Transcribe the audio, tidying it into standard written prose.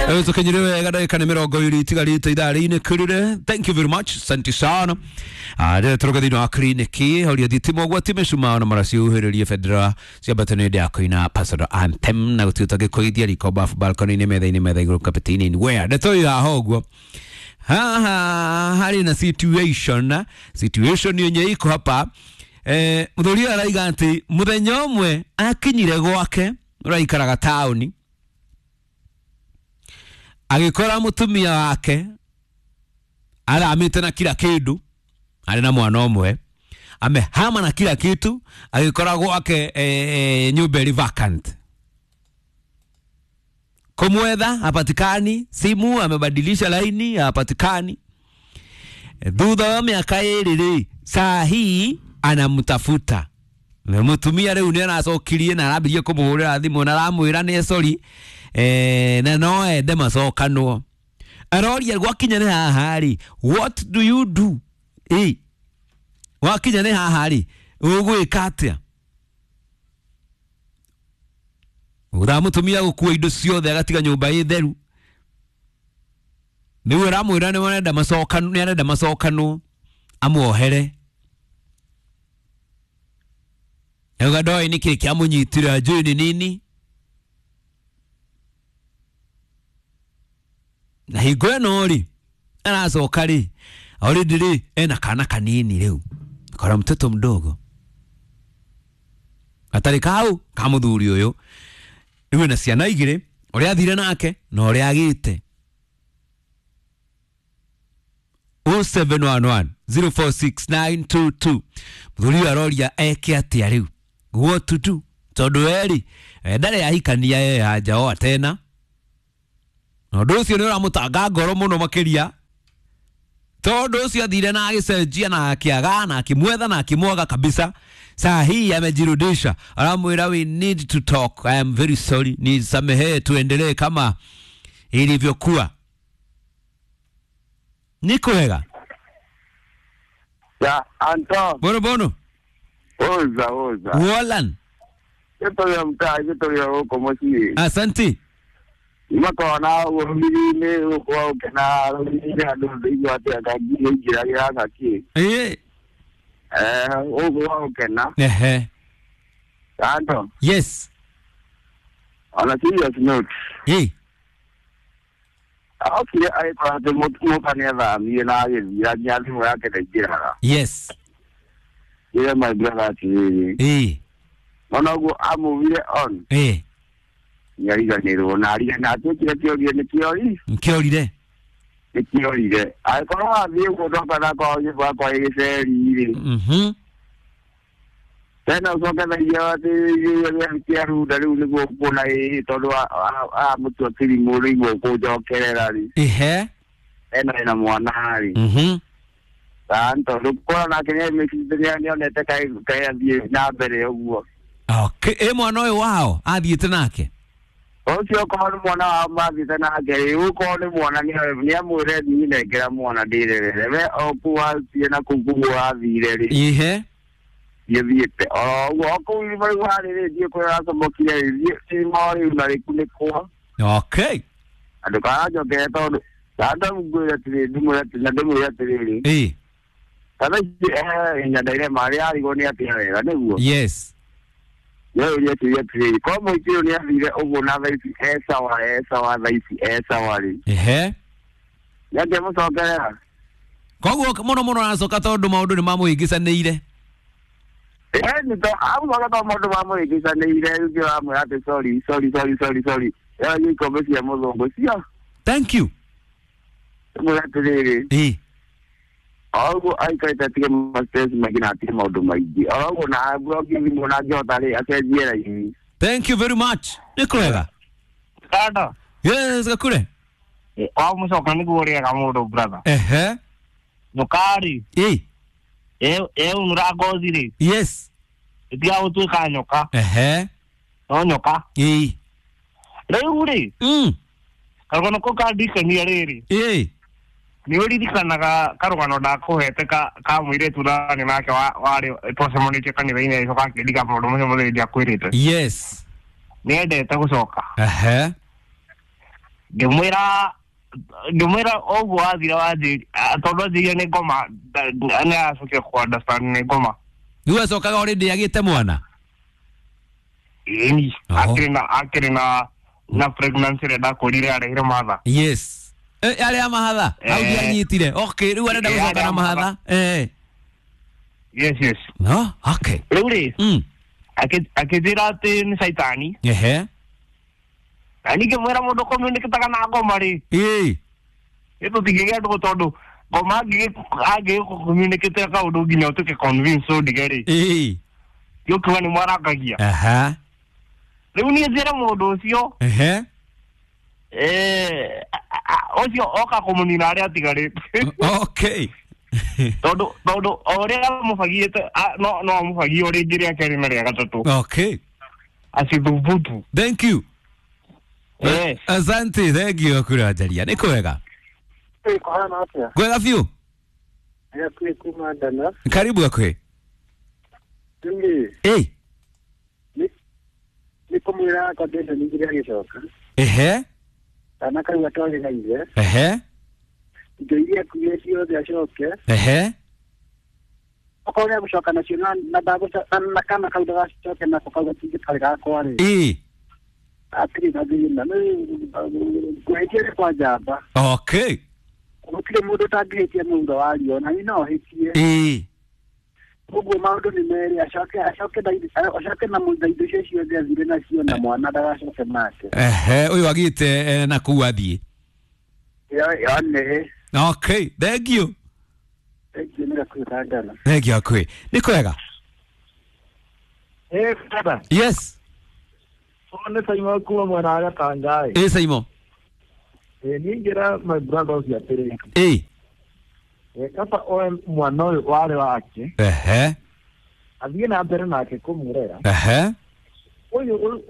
Tukinyire wega ndagĩka nĩ mĩrongo ĩrĩ itigarĩte ithaa rĩinĩ kĩrĩre. Thank you very much, asante sana. Rĩrĩa tũroka thĩinĩ wa kliniki horia thitima ũgwati mĩcumaa na maracihuhĩrĩrie bendera ciambate nĩ hĩndĩ ya kũina personal anthem na gũtuĩka gĩkũithia riko bafu balcony-inĩ metha-inĩ metha igũrũ kapeti-inĩ where ndeto ĩyo haha ũguo haha harĩ na situation yenye iko hapa. Mũthuri ũyũ araiga atĩ mũthenya ũmwe akinyire gwake ũraikaraga taũni agĩkora mũtumia wake aramĩte na kila kĩndũ arĩ na mwana ũmwe amehama na kila kitu agĩkora gwake nyũmba ĩrĩ vacant kumwetha hapatikani, simu amebadilisha laini hapatikani. Thutha wa mĩaka ĩrĩ rĩ, saa hii anamtafuta mutumia rĩu nĩ aracokirie na arambirie kũmũhũrĩra thimũ na aramwĩra nĩ sorry, na no ende macokanwo. Aroria gwakinya nĩ haha rĩ, what do you do? Wakinya nĩ haha rĩ, ũgwĩka atĩa? Ũthaa mũtumia gũkua indo ciothe agatiga nyũmba ĩ theru. Nĩguo aramwĩra nĩ arenda macokanwo, nĩ arenda macokanwo amuohere. Auga ndoĩ nĩkĩ kĩamũnyitire njũĩ nĩ nini. Na hingo ĩno rĩ aracoka rĩ already rĩ ena kana kanini rĩu kora mtoto mdogo atarĩ kau ka mũthuri ũyũ rĩu ena ciana igĩrĩ ũrĩa athire nake na ũrĩa agĩte. 0711 046922 mũthuri ũyũ aroria eke atĩa rĩu, what to do, tondũ erĩ ndarĩ ahikania ye hajaoa tena na ũndũ ũcio nĩ ũramũtanga ngoro mũno makĩria tondũ ũcio athire na agĩcenjia na akĩaga na akĩmwetha na akĩmwaga kabisa. Saa hii amejirudisha, aramwĩra we need to talk, I am very sorry, nisamehe, tuendelee kama ilivyokuwa. Niko wega Ya Anton. Bono bono. Oza oza. Wolan. Kito ya mtaa, kito ya huko moshi. Asante. Makona urumini uko ukena urumini andu ndio ati akagie njira ya ngaki. Uko ukena. Ehe. Anton. Yes. On a serious note. Okay, I thought the mutania mi na ya ya thimu yake ndaingĩraga. Yes. Yeah, my brother atĩrĩrĩ. Ona ũguo amuvire on. Nĩariganĩrwo na arigana atuĩkire kĩorie nĩ kĩori. Kĩorire. Nĩ kĩorire. Angĩkorwo wathiĩ ũguo ndoka nakwa wakwa gĩceri rĩ. Tena ũcoke thaia atĩ kĩarunda rĩu nĩguo ũkuona ĩĩ tondũ amũtua kĩrimũ rĩu ũkũnjokerera rĩ. Ehe. Ena ena mwana rĩ. Tondũ kũrora nake nĩonete kaĩ athiĩ na mbere ũguo. Okay, ĩ mwana ũyũ wao athiĩte nake? Ũcio okorwo nĩ mwana wao mathiĩte nake rĩ, ũkorwo nĩ mwana nĩamwĩre niĩ nengera mwana ndĩrerere. We o kũu wathiĩ na kũu kũu wathire rĩ. Ehe. Gĩthiĩte oro ũguo o kũu irima rĩu harĩ rĩ ndiĩ kũrĩa ũracomokire rĩ thiĩ irima rĩu na rĩkunĩkwo. Okay. Na ndũkananjokere tondũ ndamwĩre atĩrĩrĩ ndĩmwĩre atĩrĩrĩ na ndĩmwĩre atĩrĩrĩ. Kana ici nyandaire marĩa arigwo nĩ atĩa wega nĩguo. Yes. Nĩũria atĩrĩrĩ atĩrĩrĩ korwo mũingĩ ũyũ nĩathire ũguo na thaa ici e sawa e sawa thaa ici e sawa rĩ. Ehe. Nĩangĩamũcokerera. Koguo mũno mũno aracoka tondũ maũndũ nĩ mamũhĩngĩcanĩire. Nĩ amũcoka tondũ maũndũ mamũhĩngĩcanĩire rĩu nĩ ũramwĩra atĩ sorry sorry sorry sorry sorry. Ĩyo ikombe cia mũthũngũ cio. Thank you. Ndĩmwĩre atĩrĩrĩ. Oguo aikarĩte atige ma-stress maingĩ na atige maũndũ maingĩ. Oro ũguo na mbũrokĩ thimũ na angĩhota rĩ acenjie raini. Thank you very much. Nĩ kwega. Kanda. Yes, gakure. Wamũcoka nĩguo ũrĩaga mũndũ brother. Ehe. Nyoka rĩ. Ĩunũra ngothi rĩ. Yes. Ĩtigaga gũtuĩka nyoka. Ehe. No nyoka. Rĩu rĩ. Karũgano kau kandirikania rĩrĩ. Nĩ ũririkanaga karũgano ndakũhete ka mũirĩtu ndarĩ nake warĩ twacemanĩtie kanitha-inĩ agĩcoka akĩndiga maũndũ macio mothe ndiakwĩrĩte. Yes. Nĩendete gũcoka. Ehe. Ngĩmwĩra ngĩmwĩra ũguo wathira wanjĩ tondũ anjĩire nĩ ngoma nĩ acokire kũ understand nĩ ngoma. Rĩu acokaga already agĩte mwana. Ĩni. Oho. Akĩrĩ na pregnancy ĩrĩa ndakũrire arehire matha. Yes. Arĩa mahatha hau ndianyitire. Okay, rĩu arenda gũcoka arĩa na mahatha. Yes, yes. No, okay. Rĩu rĩ akĩnjĩra atĩ nĩ caitani. Na niĩ ngĩmwĩra mũndũ communicataga na ngoma rĩ, nĩ tũtingĩgĩa ndũgũ tondũ ngoma angĩgĩkũ-communicatĩra kaũndũ nginya ũtuĩke convince ũndige rĩ, gĩũkiuga nĩ mwarangagia. Rĩu niĩ njĩre mũndũ ũcio ũcio oka kũmũnina arĩa atigarĩte. Okay. Tondũ o ũrĩa amũbagĩte no amũbagie o rĩngĩ rĩa kerĩ na rĩa gatatũ. Okay. Acithubutu. Thank you. Asante, thank you kura njaria. Nĩ kwega. Kũhana atĩa? Kwega biũ. Gakuĩ kuma Ndana. Karibu gakuĩ. Rĩu rĩ, nĩ kũmwĩra condition igĩrĩ agĩcoka. Kana kau atwarĩra ithe. Indo iria akuire ciothe acoke. Okorwo nĩ egũcoka nacio na na kana kau ndagacoke nako kau gatingĩkarĩ gakwa rĩ. Hatirĩ na thĩna. Kũhĩtia nĩ kwa njamba. Okay. Gũtirĩ mũndũ ũtangĩhĩtia mũthutha wa riũa, na niĩ no hĩtie. Ũguo maũndũ nĩ merĩ, acoke na acoke na indo icio ciothe athire nacio na mwana ndagacoke nake. Ũyũ agĩte na kũu athiĩ. Yone. Okay, thank you. Thank you, nĩ gakuĩ ka Ndana. Thank you gakuĩ. Nĩ kwega. Baba. Yes. Nĩ Saimo kuma mwena wa Gatanga. Saimo. Niĩ ingĩra my brother ũcio atĩrĩ. Kaba oe mwana ũyũ warĩ wake. Athiĩ na mbere nake kũmũrera. Ũyũ